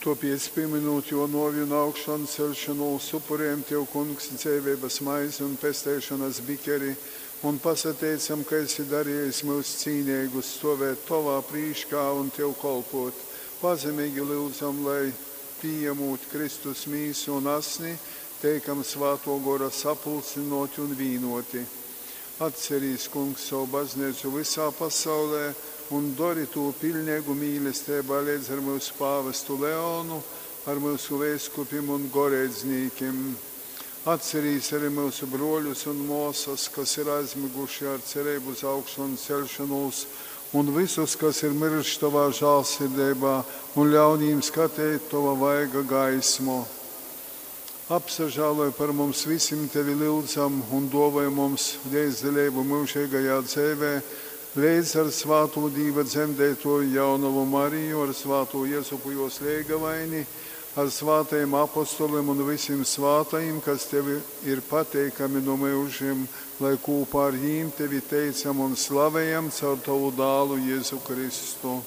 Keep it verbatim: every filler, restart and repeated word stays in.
Tōpēc, pīmynūt Jō nōvi un augšanceļšonūs, upurejam Tev, Kungs, dzeiveibas maizi un pesteišonas bikeri un pasateicam, ka esi darejis myus cīneigus stōvēt Tovā prīškā un Tev kolpōt. Pazemeigi lyudzam, lai, pījamūt Kristus Mīsu un Asni, teikam Svātō Gora sapulcynōti un vīnōti. Atcerīs, Kungs, sovu Bazneicu vysā pasaulē un dori tū piļneigu mīlesteibā leidz ar myusu pāvestu Leonu, ar myusu veiskupim un goreidznīkim. Atcerīs ari myusu brōļus un mōsas, kas ir aizmyguši ar cereibu uz augšanceļšonūs, un vysus, kas ir myruši Tovā žālsirdeibā, un ļaun jim skateit Tova vaiga gaismu. Apsažāloj par mums visim Tevi lyudzam un dōvoj mums leidzdaleibu myužeigajā dzeivē, leidz ar svātū Dīva dzemdeitōju jaunovu Mariju, ar svātū Jezupu jōs leigavaini, ar svātajim apostolim un vysim svātajim, kas Tev ir pateikami nu myužim, lai kūpā ar jim Tevi teicam un slavejam caur Tovu Dālu Jezu Kristu.